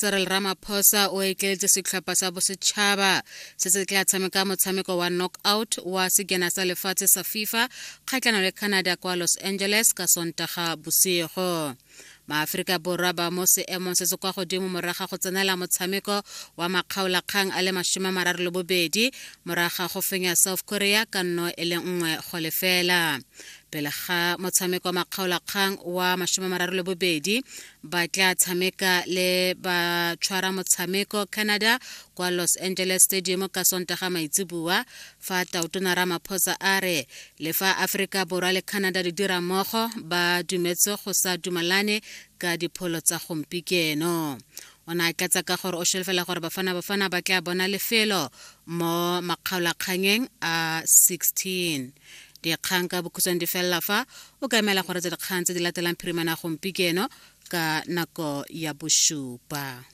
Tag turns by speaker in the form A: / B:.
A: Cyril Ramaphosa o etleletse setlhopha sa bosetšhaba se se tla tshameka motshameko wa knockout wa sejana sa lefatshe sa FIFA kgatlhanong le Canada kwa Los Angeles ka Sontaga bosigo. Maaforika Borwa ba mo seemong se se kwa godimo morago ga go tsenela motshameko wa makgaolakgang a le 32 morago ga go fenya South Korea ka nno e le 1 go lefela. Pele ga motshameko wa makgaolakgang wa 32 ba tla tshameka le ba tshwara motshameko Canada kwa Los Angeles Stadium ka Sontaga maitseboa fa Tautona Ramaphosa a re le fa Aforika Borwa le Canada di dira mmogo ba dumetse go sa dumalane ka dipholo tsa gompikeno. O ne a tlatsa ka gore o solofela gore Bafana Bafana ba tla bona lefelo mo makgaolakganyeng a 16. Dikgang ka bokhutshwane di felela fa o ka emela go retsa dikgang tse di latelang phirimana gompieno ka nako ya bosupa.